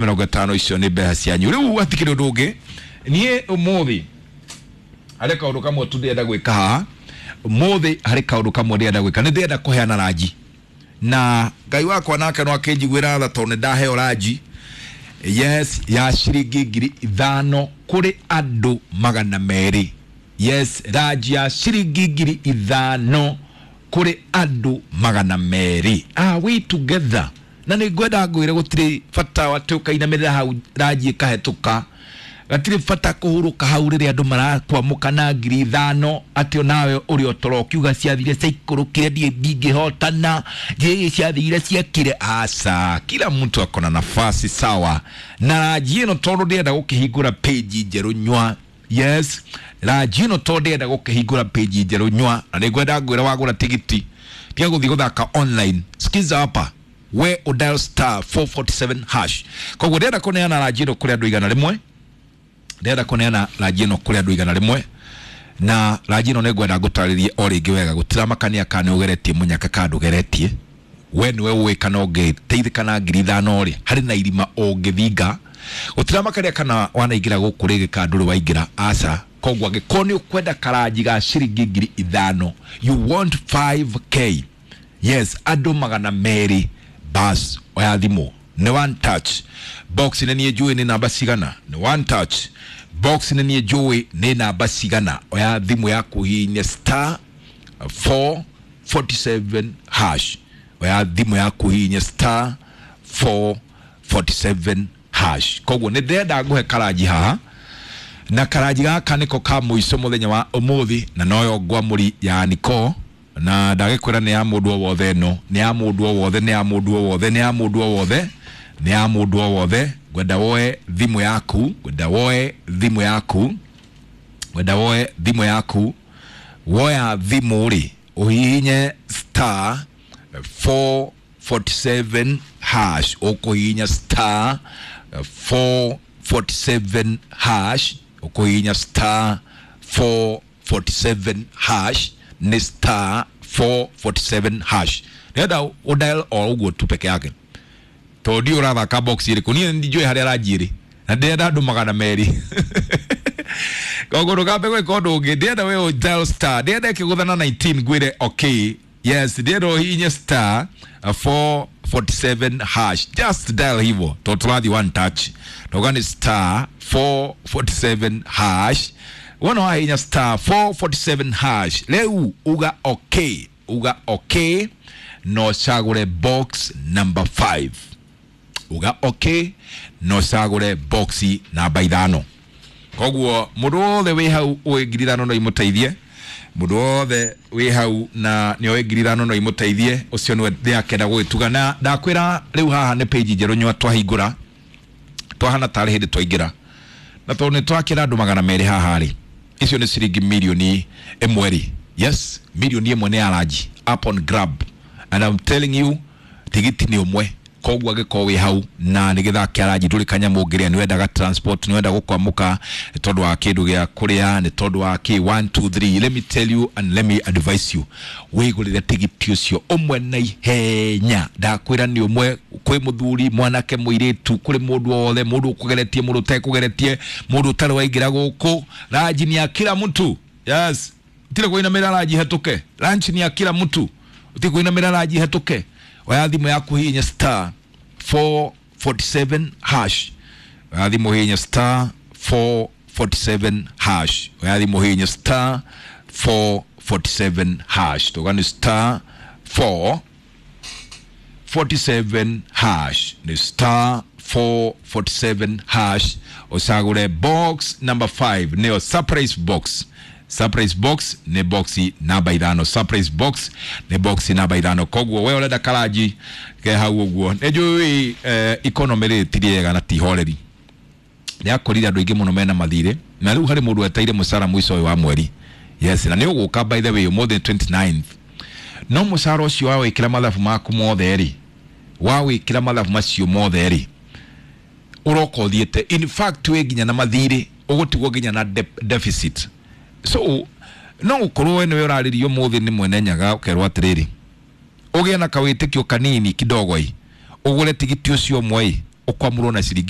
50 icio nĩ mbeca cianyu. Rĩu hatikĩrĩ ũndũ ũngĩ, niĩ ũmũthĩ harĩ kaũndũ kamwe tu ndĩrenda gwĩka haha. Ũmũthĩ harĩ kaũndũ kamwe ndĩrenda gwĩka, nĩ ndĩrenda kũheana ranji, na Ngai wakwa nake no akĩnjiguĩra tha tondũ nĩ ndaheo ranji, yes, ya ciringi 5,000 kũrĩ andũ 200. Yes, ranji ya ciringi 5,000 kũrĩ andũ 200. Are we together? Na nĩ ngwenda ngwĩre gũtirĩ bata atĩ ũkainamĩrĩra hau ranji ĩkahetũka, gatirĩ bata kũhurũka hau rĩrĩa andũ marakwamũka na 5,000, atĩ onawe ũrĩ o toro ũkiuga ciathire ciaikũrũkire, ndiĩ ndingĩhotana, njĩĩ ciathire ciekire. Aca, kila mtu akona nafasi sawa. Na ranji ĩno tondũ ndĩrenda gũkĩhingũra page njerũ nywa, yes, ranji ĩno tondũ ndĩrenda gũkĩhingũra page njerũ nywa, na nĩngwenda ngwĩra wagũra tigiti tiga gũthiĩ gũthaka online. Sikiza hapa, we udial star 447 hash. Koguo ndĩrenda kũneana ranji ĩno kũrĩ andũ 100, ndĩrenda kũneana ranji ĩno kũrĩ andũ 100. Na ranji ĩno nĩngwenda ngũtarĩrie o rĩngĩ wega, gũtiramakania kana nĩ ũgeretie mũnyaka kana ndũgeretie, we nĩwe ũĩ kana ũngĩteithĩka na 5,000 rĩ, harĩ na irima ũngĩthinga. Gũtiramakania kana wanaingĩra gũkũ rĩngĩ kana ndũrĩ waingĩra, aca. Koguo angĩkorwo nĩ ũkwenda karanji ga ciringi 5,000, you want 5K, yes, andũ 200, bas, oya thimũ, nĩ one touch. Box nĩ niĩ njũĩ nĩ namba cigana, nĩ one touch. Box nĩ niĩ njũĩ nĩ namba cigana. Oya thimũ yaku, hihinya star 447 hash. Oya thimũ yaku, hihinya star 447 hash. Koguo nĩ ndĩrenda ngũhe karanji haha, na karanji gaka nĩko ka mũico mũthenya wa ũmũthĩ, na noyo ngwamũri ya niko, na ndagĩkwĩra nĩ ya mũndũ o wothe ĩno, nĩ ya mũndũ o wothe, nĩ ya mũndũ o wothe, nĩ ya mũndũ o wothe, nĩ ya mũndũ o wothe. Ngwenda woe thimũ yaku, ngwenda woe thimũ yaku, ngwenda woe thimũ yaku. Woya thimũ rĩ, ũhihinye star 447 hash. Ũkũhihinya star 447 hash, ũkũhihinya star 447 hash, nĩ star 447 hash. Nĩgetha ũdial o ũguo tu peke yake, tondũ ndiũ ũrathaka box ĩrĩkũ, niĩ njũĩ harĩa ranji ĩrĩ, na ndĩrenda andũ 200. Koguo ndũkambe gwĩka ũndũ ũngĩ, ndĩrenda we dial star, ndĩrenda ĩkĩgũthana 19 ngwĩre okay. Yes, ndĩrenda ũhihinye star 447 hash, just dial hivyo, tondũ tũrathiĩ one touch. Ndauga nĩ star 447 hash. Wona wahihinya star 447 hash, rĩu uga okay, uga okay, no cagũre box number 5. Uga okay, no cagũre box namba 5. Koguo mũndũ wothe wĩ hau ũĩ 5,000 no imũteithie, mũndũ wothe wĩ hau na nĩ oĩ 5,000 no imũteithie, ũcio nĩwe ndĩrakenda gũgĩtuga. Na ndakwĩra rĩu haha nĩ page njerũ nyua twahingũra, twahana tarĩ hĩndĩ twaingĩra, na tondũ nĩ twakĩra andũ 200 haha rĩ, icio nĩ ciringi 1 million rĩ. Yes, 1 million nĩ ya ranji up on grab, and I'm telling you, tigiti nĩ ũmwe. Koguo angĩkorwo wĩ hau na nĩ gĩthaa kĩa ranji, ndũrĩ kanyamũ ũngĩrĩa, nĩ wendaga transport, nĩ wenda gũkwamũka nĩ tondũ wa kĩndũ gĩa kũrĩa, nĩ tondũ wa kĩ, 1 2 3, let me tell you and let me advise you, wĩgũrĩre tigiti ũcio ũmwe na ihenya. Ndakwĩra nĩ ũmwe, kwĩ mũthuri, mwanake, mũirĩtu, kũrĩ mũndũ o wothe, mũndũ ũkũgeretie, mũndũ ũtekũgeretie, mũndũ ũtarĩ waingĩra gũkũ, ranji ni ya kila mtu. Yes, tire kũinamĩra ranji hetũke, ranji ni ya kila mtu, utige kũinamĩra ranji hetũke. Oya thimũ yaku, hihinya star 447 hash. Oya thimũ, hihinya star 447 hash. Oya thimũ, hihinya star 447 hash. Tuga nĩ star 447 hash, nĩ star 447 hash, ũcagũre box number 5, nĩyo surprise box. Surprise box nĩ box namba 5, surprise box nĩ box namba 5. Koguo we ũrenda karanji ke hau ũguo, nĩ njũĩ economy rĩ ti rĩega na ti horeri, nĩ akorire andũ aingĩ mũno mena mathirĩ, na rĩu harĩ mũndũ weteire mũcara mũico ũyũ wa mweri. Yes, na nĩ ũgũka, by the way, ũmũthĩ 29th, no mũcara ũcio wawĩkĩra mathabu maku mothe rĩ, wawĩkĩra mathabu macio mothe rĩ, ũroka ũthiĩte, in fact wĩ nginya na mathirĩ, ũgũtigwo nginya na deficit. So no gũkorwo we nĩwe ũrarĩrio ũmũthĩ nĩ mwene Nyaga, ũkerwo atĩrĩrĩ, ũgĩe na kawĩtĩkio kanini kidogo ĩ, ũgũre tigiti ũcio ũmwe ĩ. Ũkwamũrwo na ciringi.